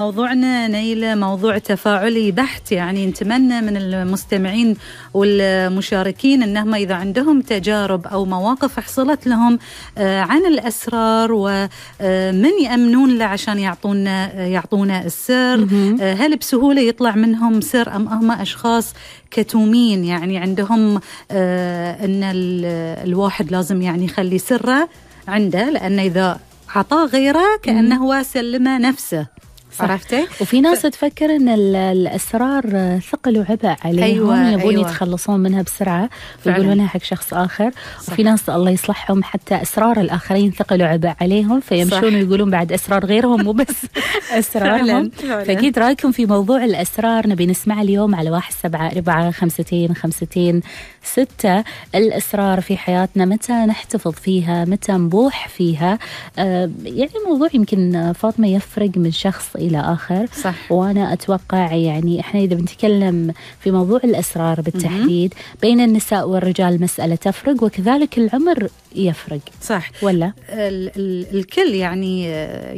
موضوعنا نيلة موضوع تفاعلي بحت، يعني نتمنى من المستمعين والمشاركين أنهم إذا عندهم تجارب أو مواقف حصلت لهم عن الأسرار ومن يأمنون له عشان يعطونا السر، هل بسهولة يطلع منهم سر أم هم أشخاص كتومين، يعني عندهم أن الواحد لازم يعني يخلي سره عنده، لأن إذا عطاه غيره كأنه هو سلمه نفسه. عرفتي؟ وفي ناس تفكر ان الاسرار ثقل وعبء عليهم، يبون يتخلصون منها بسرعه ويقولونها حق شخص اخر. صح. وفي ناس الله يصلحهم حتى اسرار الاخرين ثقل وعبء عليهم، فيمشون ويقولون بعد اسرار غيرهم مو بس اسرارهم. فاكيد رايكم في موضوع الاسرار نبي نسمع اليوم على 1745 الاسرار في حياتنا متى نحتفظ فيها، متى نبوح فيها. يعني موضوع يمكن فاطمه يفرق من شخص إلى آخر. صح. وأنا أتوقع يعني إحنا إذا بنتكلم في موضوع الأسرار بالتحديد بين النساء والرجال مسألة تفرق، وكذلك العمر يفرق. صح ولا الكل يعني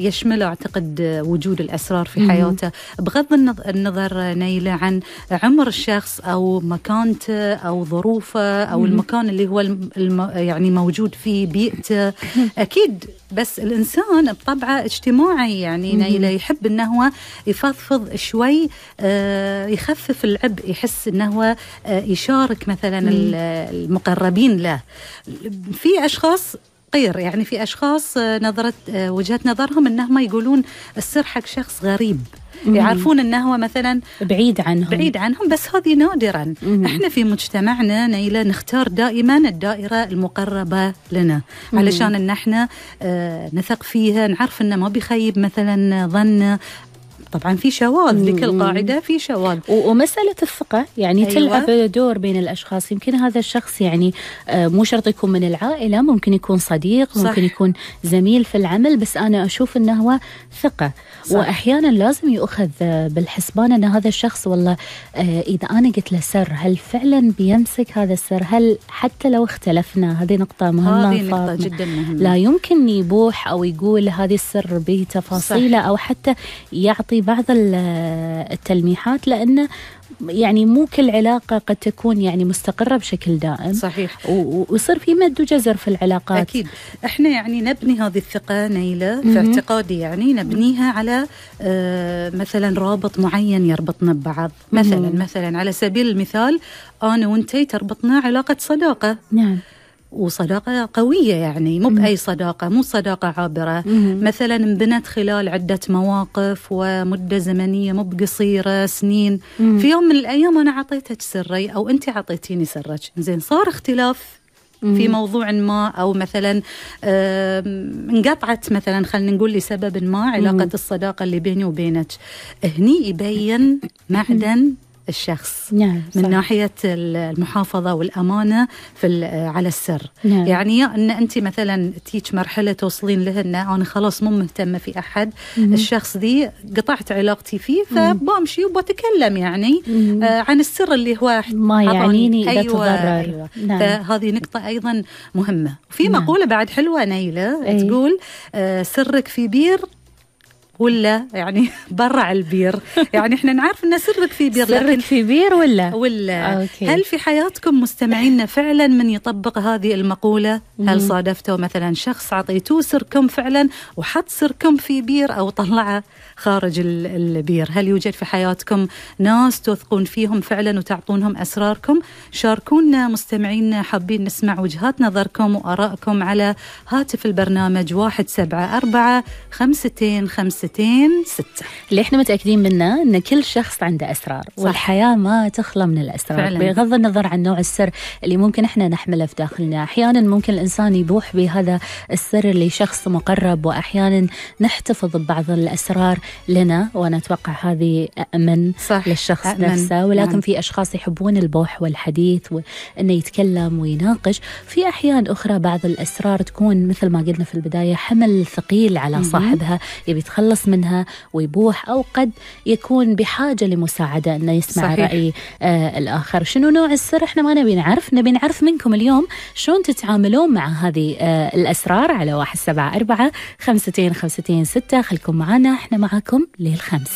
يشمل أعتقد وجود الأسرار في حياته، بغض النظر نيلة عن عمر الشخص أو مكانته أو ظروفه أو المكان اللي هو يعني موجود فيه، بيئته. أكيد بس الإنسان بطبعه اجتماعي، يعني نيلة يحب أنه هو يفضفض شوي، يخفف العبء، يحس أنه هو يشارك مثلا المقربين له. في أشخاص غير، يعني في أشخاص وجهة نظرهم أنهم يقولون السر حق شخص غريب، يعرفون أنه هو مثلا بعيد عنهم، بس هذه نادرا. احنا في مجتمعنا نيلة نختار دائما الدائرة المقربة لنا، علشان أن احنا نثق فيها، نعرف أنه ما بيخيب مثلا ظن. طبعا في شواذ، لكل قاعدة في شواذ. ومسألة الثقة يعني تلعب دور بين الأشخاص. يمكن هذا الشخص يعني مو شرط يكون من العائلة، ممكن يكون صديق، ممكن يكون زميل في العمل، بس أنا أشوف أنه هو ثقة. صح. وأحيانا لازم يؤخذ بالحسبان أن هذا الشخص والله إذا أنا قلت له سر هل فعلا بيمسك هذا السر، هل حتى لو اختلفنا. هذه نقطة مهمة، هذه نقطة جدا مهمة. لا يمكن يبوح أو يقول هذه السر بتفاصيله، أو حتى يعطي بعض التلميحات، لأنه يعني مو كل علاقة قد تكون يعني مستقرة بشكل دائم. صحيح. ويصير في مد وجزر في العلاقات. أكيد. إحنا يعني نبني هذه الثقة نيلة في اعتقادي، يعني نبنيها على مثلا رابط معين يربطنا ببعض. مثلا على سبيل المثال أنا وأنتي تربطنا علاقة صداقة. نعم. وصداقة قوية، يعني مو بأي صداقة، مو صداقة عابرة. مثلا انبنت خلال عدة مواقف ومدة زمنية مو بقصيرة، سنين. في يوم من الأيام أنا عطيتك سري أو أنت عطيتيني سرك، زين صار اختلاف في موضوع ما، أو مثلا انقطعت مثلا، خلينا نقول لسبب ما علاقة الصداقة اللي بيني وبينك. هني يبين معدن الشخص. نعم. من ناحية المحافظة والأمانة على السر. نعم. يعني أن أنت مثلا تيج مرحلة توصلين له أن أنا خلاص مو مهتمة في أحد، الشخص دي قطعت علاقتي فيه، فبامشي وبتكلم يعني عن السر اللي هو ما يعنيني إذا تضرر. أيوة. نعم. فهذه نقطة أيضا مهمة. وفي مقولة بعد حلوة نيلة تقول سرك في بير ولا يعني برع البير. يعني احنا نعرف ان سرك في بير، سرك في بير ولا أوكي. هل في حياتكم مستمعينا فعلا من يطبق هذه المقولة؟ هل صادفتوا مثلا شخص عطيتوه سركم فعلا وحط سركم في بير أو طلعه خارج البير؟ هل يوجد في حياتكم ناس تثقون فيهم فعلا وتعطونهم أسراركم؟ شاركونا مستمعينا، حابين نسمع وجهات نظركم وآرائكم على هاتف البرنامج 174-52-526. اللي احنا متأكدين منه ان كل شخص عنده أسرار. صح. والحياة ما تخلى من الأسرار فعلا. بغض النظر عن نوع السر اللي ممكن احنا نحمله في داخلنا. احيانا ممكن الإنسان يبوح بهذا السر اللي شخص مقرب، واحيانا نحتفظ ببعض الأسرار لنا، وانا اتوقع هذه أأمن للشخص نفسه. ولكن في أشخاص يحبون البوح والحديث وانه يتكلم ويناقش. في احيان اخرى بعض الأسرار تكون مثل ما قلنا في البداية حمل ثقيل على صاحبها، يبي يتخلص يتخلص منها ويبوح، أو قد يكون بحاجة لمساعدة أنه يسمع صحيح. رأي الآخر. شنو نوع السر؟ إحنا ما نبي نعرف منكم اليوم شلون تتعاملون مع هذه الأسرار على 174 52 56. خلكم معنا، إحنا معكم للخمس.